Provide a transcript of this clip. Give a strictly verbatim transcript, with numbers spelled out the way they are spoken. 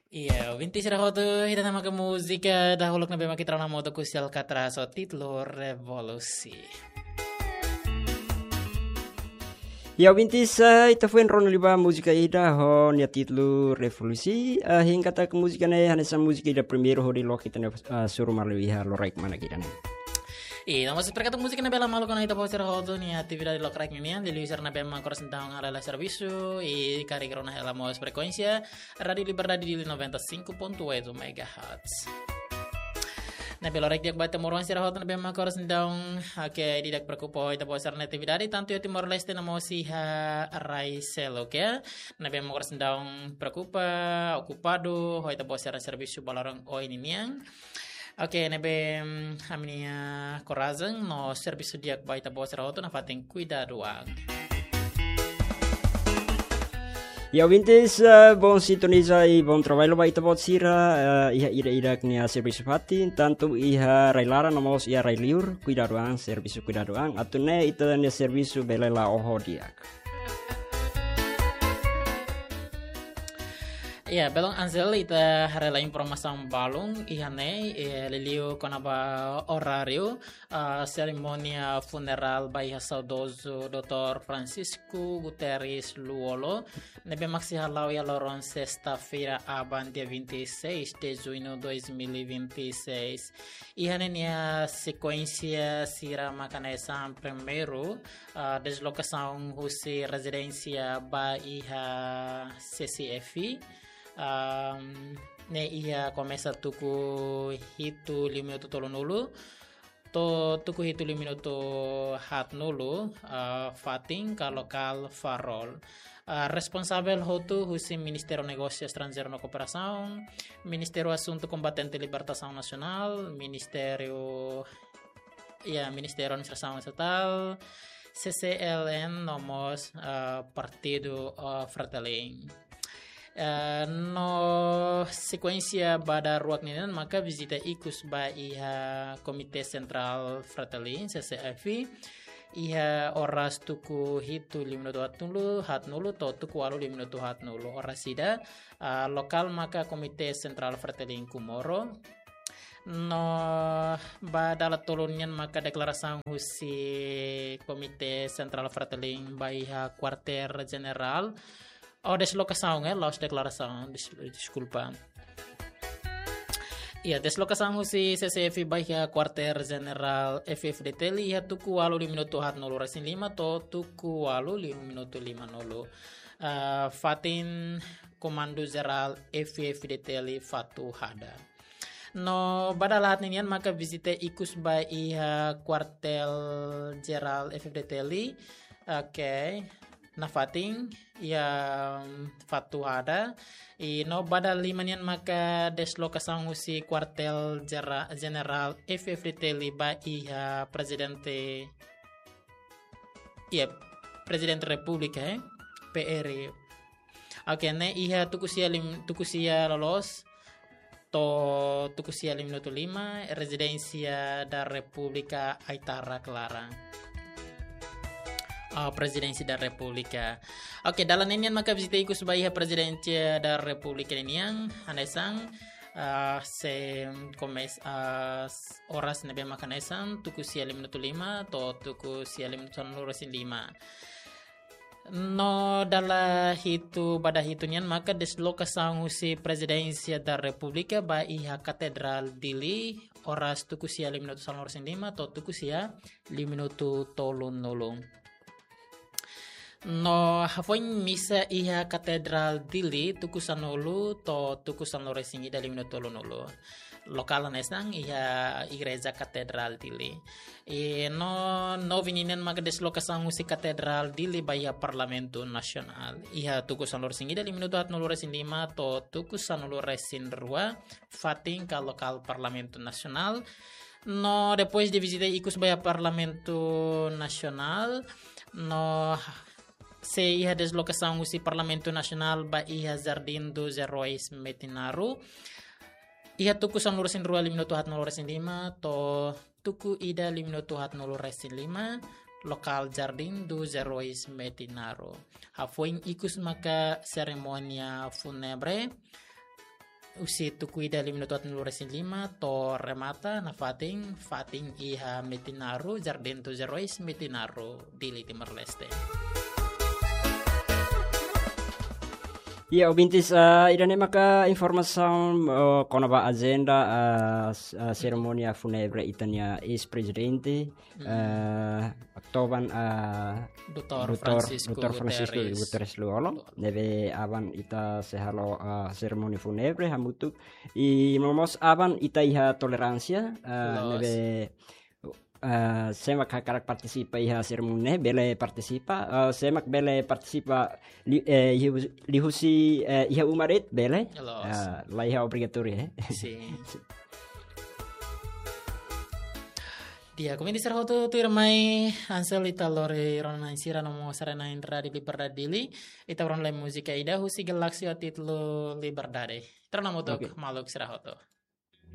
Iya, ouvinte sira hotu, ida-ne'e maka múzika dahuluk ne'ebé mak ita rona modo ku Selka tras ho títulu Revolusi. Iya, ouvinte sira, ita foin rona liu ba múzika ida ho nia títulu Revolusi. Ah, hein katak múzika ne'e hanesan múzika ida primeiru hodi loke ita-nia, ah, suru malu iha loraik manak ida-ne'e. I, no mós espera katak múzika ne'e bele malu kona ita-boot sira hotu nia atividade loraik ninian, liuliu sira ne'ebé mak oras ne'e daudaun hela servisu, i karik rona hela mós frekuénsia Rádio Liberdade Dili noventa e cinco ponto oito megahertz. Ne'ebé loraik di'ak ba ita-boot sira hotu ne'ebé mak oras ne'e daudaun, oke, di'ak preokupa ho ita-boot sira-nia atividade, tantu iha Timor-Leste no mós iha rai seluk, oke? Ne'ebé mak oras ne'e daudaun preokupa, okupadu ho ita-boot sira-nia servisu ba loron oin ninian. Oke, ne'ebé, mm, ami-nia korajen no servisu di'ak ba ita-boot sira hotu nafatin kuidadu an. Ya, ouvintes, eh, bom sintonia i bom trabalho ba ita-boot sira, eh, iha ida-idak nia servisu fatin, tantu iha rai-laran no mós iha rai-liur, kuidadu an, servisu kuidadu an, atu nune'e ita-nia servisu bele la'o ho di'ak. Ya, belun Ansel, ita haree lai informasaun balun iha ne'e, eh, liuliu kona-ba oráriu, ah, serimónia funerál ba iha saudozu doutór Francisco Guterres Lú-Olo, ne'ebé mak sei hala'o iha loron sesta-feira aban, dia vinte e seis de junho dois mil e vinte e seis. Iha ne'e nia sekuénsia sira mak hanesan primeiru, ah, deslokasaun husi rezidénsia ba iha C C F, ah, ne'e iha komesa tuku hitu liu minutu tolunulu, to'o tuku hitu liu minutu haatnulu, ah, fatin ka lokál Farol. Ah, responsavel hotu husi Ministériu Negósiu Estranjeiru no Kooperasaun, Ministériu Asuntu Kombatente Libertasaun Nasionál, Ministériu, ya, Ministériu Administrasaun Estatál, C C L N no mós, ah, Partidu, ah, Fretilin. Eh, no sekuénsia ba dala ruak ninian maka vizita ikus ba iha Komité Sentrál Fretilin, C C F, iha oras tuku hitu liu minutu haatnulu, haatnulu, to'o tuku ualu liu minutu haatnulu. Oras ida, ah, lokál maka Komité Sentrál Fretilin Comoro. No ba dala tolu nian maka deklarasaun husi Komité Sentrál Fretilin ba iha Kuartél Jenerál. Oh, deslokasaun, eh, la'ós deklarasaun, des-, deskulpa. Ya, deslokasaun husi C C F ba iha Kuartél Jenerál F F D T L iha tuku ualu liu minutu haatnulu resin lima to'o tuku ualu liu minutu limanulu. Ah, fatin Komandu Jerál F F D T L Fatuhada. No ba dala haat ninian maka vizita ikus ba iha Kuartél Jerál F F D T L. Oke. Nafatin iha, mm, Fatuhada. I no ba dala lima nian maka deslokasaun husi Kuartél Jera-, Jenerál F F D T L ba iha Prezidente, ya, Prezidente Repúblika, eh, P R. Oke, ne'e iha tuku sia lim-, tuku sia loloos to'o tuku sia liu minutu lima, Rezidénsia da Repúblika Aitarak laran. Ah, Prezidénsia da Repúblika. Oke, dala ninian maka vizita ikus ba iha Prezidénsia da Repúblika ninian, hanesan, ah, sei komesa, ah, s-, oras ne'ebé mak hanesan, tuku sia liu minutu lima, to'o tuku sia liu minutu sanulu resin lima. No dala hitu, ba dala hitu nian maka deslokasaun husi Prezidénsia da Repúblika ba iha Katedrál Dili, oras tuku sia liu minutu sanulu resin lima, to'o tuku sia liu minutu tolunulu. No hafoin misa iha Katedrál Dili, tuku sanulu, to'o tuku sanulu resin ida liu minutu tolunulu. Lokál hanesan iha Igreja Katedrál Dili. I no, nove ninian maka deslokasaun husi Katedrál Dili ba iha Parlamentu Nasionál. Iha tuku sanulu resin ida liu minutu haatnulu resin lima to'o tuku sanulu resin rua, fatin ka lokál Parlamentu Nasionál. No depois de vizita ikus ba iha Parlamentu Nasionál, no sei iha deslokasaun husi Parlamentu Nasionál ba iha Jardim dos Heróis Metinaro. Iha tuku sanulu resin rua liu minutu haatnulu resin lima, to'o tuku ida liu minutu haatnulu resin lima, lokál Jardim dos Heróis Metinaro. Hafoin ikus maka serimónia fúnebre. husi tuku ida lima minutu atin lua resin lima to'o remata nafatin, fatin iha Metinaro, Jardim dos Heróis, Metinaro, Dili, Timor-Leste. Iya, ouvintes, ah, ida-ne'e maka informasaun, oh, kona-ba ajenda, ah, s-, ah, serimónia fúnebre ita-nia eis-prezidente, ah, to'o aban, ah, Doutór Doutór, Francisco Doutór Francisco Guterres. Guterres Lú-Olo. Lú-Olo. Ne'ebé aban ita sei halo, ah, serimónia fúnebre hamutuk. I no mós aban ita iha toleránsia, ah, Loos. Ne'ebé, ah, sé mak hakarak partisipa iha serimónia ne'e, bele partisipa, ah, sé mak bele partisipa li-, eh, liu-, liuhusi, eh, iha uma de'it, bele. Loos. Ah, la iha obrigatóriu, eh. Sin. Di'ak, komunidade sira hotu, tuirmai Ansel, ita lori rona-na'in sira no mós haree-na'in Rádiu Liberdade Dili, ita rona lai múzika ida husi Galáxia ho títulu Liberdade. Ita rona hamutuk, oke, maluk sira hotu.